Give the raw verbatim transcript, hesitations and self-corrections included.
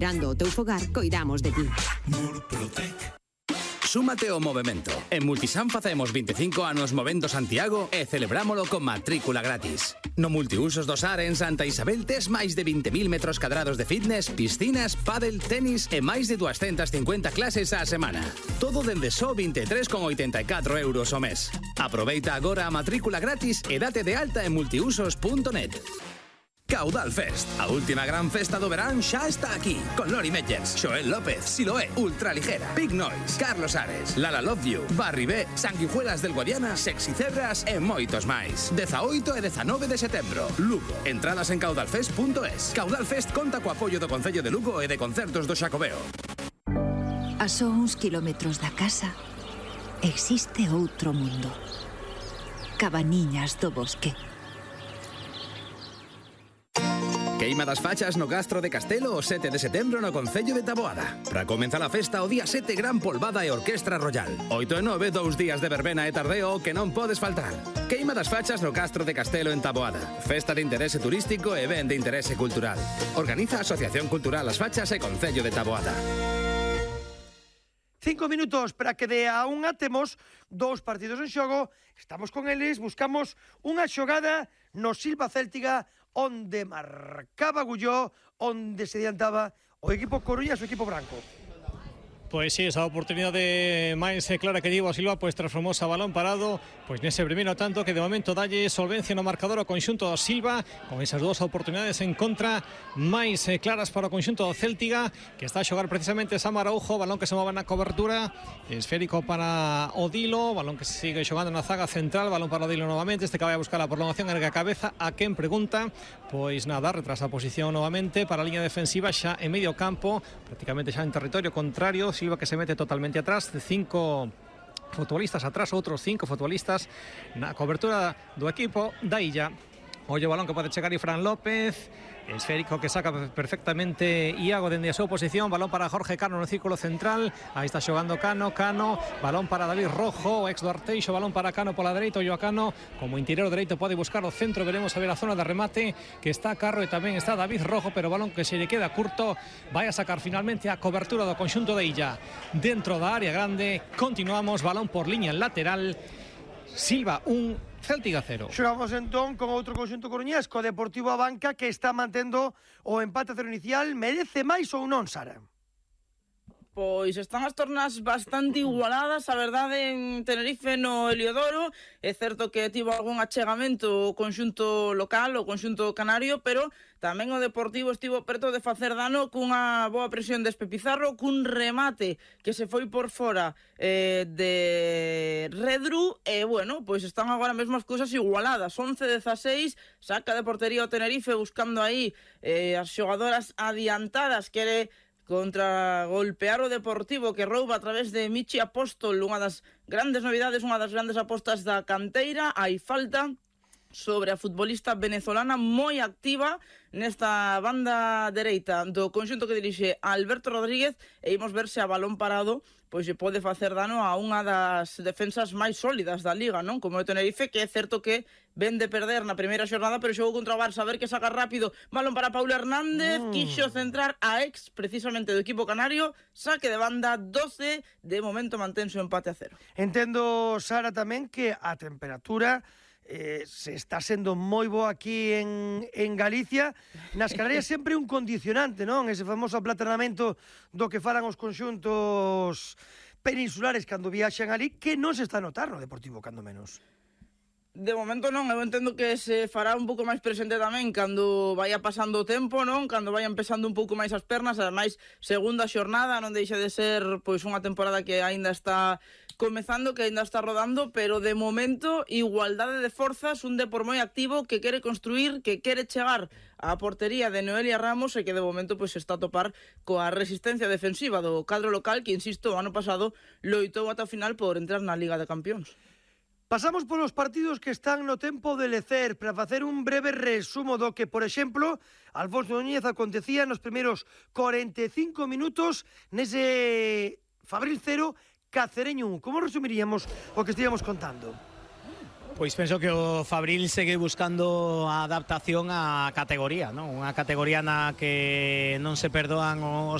Mirando o teu fogar, coidamos de ti. Murprotec. Súmate ao movemento. En Multisan facemos veinticinco anos movendo Santiago e celebrámolo con matrícula gratis. No multiusos do Sar en Santa Isabel tes máis de vinte mil metros cadrados de fitness, piscinas, pádel, tenis e máis de doscientas cincuenta clases á semana. Todo dende só vinte e tres con oitenta e catro euros ao mes. Aproveita agora a matrícula gratis e date de alta en multiusos punto net. Caudal Fest, a última gran festa do verán xa está aquí, con Lori Meggers, Xoel López, Siloé, Ultraligera, Big Noise, Carlos Ares, Lala Love You, Barry B, Sanguijuelas del Guadiana, Sexy Cebras e moitos máis. dezaoito e dezanove de setembro, Lugo. Entradas en caudalfest punto es. Caudal Fest conta co apoio do Concello de Lugo e de Concertos do Xacobeo. A só uns kilómetros da casa existe outro mundo. Cabaniñas do Bosque. Queima das fachas no Gastro de Castelo o sete de setembro no Concello de Taboada. Para comenzar a festa o día sete, gran polvada e orquestra royal. oito e nove, dous días de verbena e tardeo que non podes faltar. Queima das fachas no Castro de Castelo en Taboada. Festa de interese turístico e ben de interese cultural. Organiza a Asociación Cultural As Fachas e Concello de Taboada. Cinco minutos para que de a unha temos dous partidos en xogo. Estamos con eles, buscamos unha xogada no Silva Céltiga onde marcaba Gulló, onde se adiantaba o equipo coruñas o equipo branco. Pois sí, esa oportunidade máis clara que llevo a Silva pois transformouse a balón parado pois nese primeiro tanto que de momento dalle solvencia no marcador ao conxunto do Silva con esas dúas oportunidades en contra máis claras para o conxunto do Céltiga que está a xogar precisamente Sam Araujo, balón que se move na cobertura, esférico para Odilo, balón que se sigue xogando na zaga central, balón para Odilo novamente, este que vai a buscar a prolongación ergue a cabeza, a quen pregunta, pois nada, retrasa a posición novamente para a liña defensiva xa en medio campo, prácticamente xa en territorio contrario. Silva que se mete totalmente atrás, cinco futbolistas atrás, outros cinco futbolistas na cobertura do equipo da Illa. Ollo o balón que pode chegar e Fran López, esférico que saca perfectamente Iago dende a súa posición, balón para Jorge Cano no círculo central, aí está xogando Cano, Cano, balón para David Rojo, ex do Arteixo, balón para Cano pola dereita, ollo a Cano, como interior dereito pode buscar o centro, veremos a ver a zona de remate, que está Carro e tamén está David Rojo, pero balón que se lle queda curto, vai a sacar finalmente a cobertura do conxunto de Illa, dentro da área grande, continuamos, balón por liña lateral, Silva un, Céltiga cero. Xogamos entón con outro conxunto coruñés, co Deportivo Abanca, que está mantendo o empate a cero inicial. Merece máis ou non, Sara? Pois están as tornas bastante igualadas, a verdade, en Tenerife no Heliodoro. É certo que tivo algún achegamento o conxunto local, o conxunto canario, pero tamén o Deportivo estivo perto de facer dano cunha boa presión de Espe Pizarro, cun remate que se foi por fora eh, de Redru, e, bueno, pois están agora mesmo as cousas igualadas. once dezaseis, saca de portería o Tenerife buscando aí eh, as xogadoras adiantadas, quere contra golpear o Deportivo que rouba a través de Michi Apóstol, unha das grandes novidades, unha das grandes apostas da canteira. Hai falta sobre a futbolista venezolana moi activa nesta banda dereita do conxunto que dirixe Alberto Rodríguez, e imos ver se a balón parado pois se pode facer dano a unha das defensas máis sólidas da Liga, non? Como o Tenerife, que é certo que ven de perder na primeira xornada, pero xogou contra o Barça, a ver que saca rápido, balón para Paulo Hernández, mm. quixo centrar a ex precisamente do equipo canario, saque de banda, doce, de momento mantense o empate a cero. Entendo, Sara, tamén que a temperatura Eh, se está sendo moi boa aquí en, en Galicia. Nas Canarias sempre un condicionante, non? Ese famoso aplaternamento do que falan os conxuntos peninsulares cando viaxan ali, que non se está a notar no Deportivo, cando menos. De momento non, eu entendo que se fará un pouco máis presente tamén cando vaya pasando o tempo, non? Cando vayan pesando un pouco máis as pernas, ademais segunda xornada, non deixa de ser pois unha temporada que aínda está comezando, que aínda está rodando, pero de momento igualdade de forzas, un Depor moi activo que quere construir, que quere chegar á portería de Noelia Ramos e que de momento pois está a topar coa resistencia defensiva do cadro local que, insisto, o ano pasado loitou ata o final por entrar na Liga de Campións. Pasamos polos partidos que están no tempo de lecer para facer un breve resumo do que, por exemplo, Alfonso Núñez acontecía nos primeiros cuarenta e cinco minutos nese Fabril cero, Cacereño un. Como resumiríamos o que estíamos contando? Pois penso que o Fabril segue buscando a adaptación á categoría, non? Unha categoría na que non se perdoan os